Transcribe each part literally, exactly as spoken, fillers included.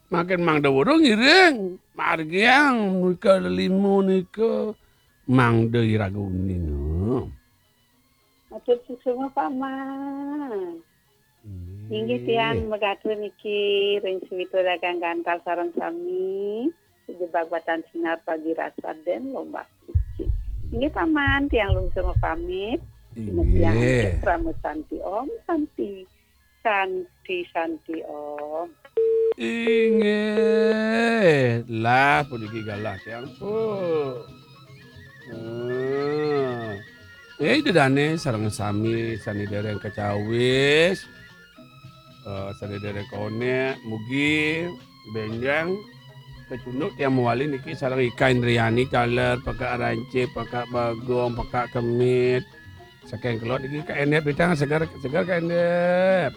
Mangkin mangda weruh ngiring, margiang nika lelima nika mangda iraga uning. Matur suksma, Paman. Inggih. Inggih tiang megatur niki ring Suwita Dagang Gantal sareng sami, sejebag batan sinar pagi rasa den lombak suci. Inggih, Paman, tiang lungsur mapamit. Inggih. Tiang Parama Santi Om, Santi, Santi, Santi Om. Inggih, lah puniki galah tiang, Pu. Hmm. Eh, ida dane sareng sami sane dereng kacawis, eh, sane dereng konek, mugi benjang kacunduk tiang mawali niki sareng Ika Indriani taler, Pekak Rancip, Pekak Bagong, Pekak Kemit. Saking kelod niki Kak Endep, pitang seger, seger Kak Endep.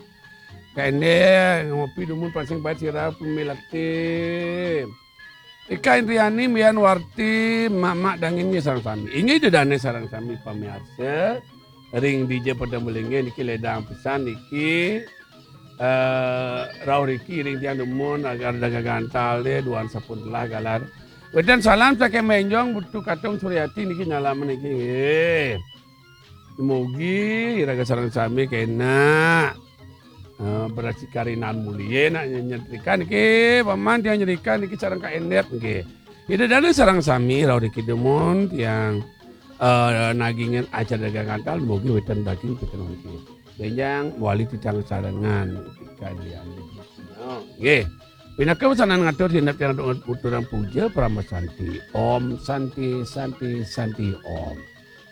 Kak Endep, ngopi dumun pansing pait sira pemilati. Ika Indriani, Mian Warti, Mak-mak dangin nggih sareng sami. Inggih ida dane sareng sami pamiarsa. Ring dija pada melingge niki ledang pesan niki. Eh, rauh riki ring tiang dumun agar dagang gantal de duan sampun telah galar. Wenten salam saking Menjong, Butu Katung Suryati niki nyalaman niki nggih. Mugi iraga sareng sami kena, eh, berasi karinan mulia nak nyetrika niki, Paman, tiang nyerika niki sareng Kak Endep nggih. Ida dane sareng sami rauh riki dumun tiang, eh, nagingan acara dagang gantal, mugi wenten daging piteng niki. Benjang mawali titiang sarengan kalian. Nggih. Pinaka pesanan ngatur sinep tiang untuk uturang puja Parama Santi. Om Santi, Santi, Santi, Om.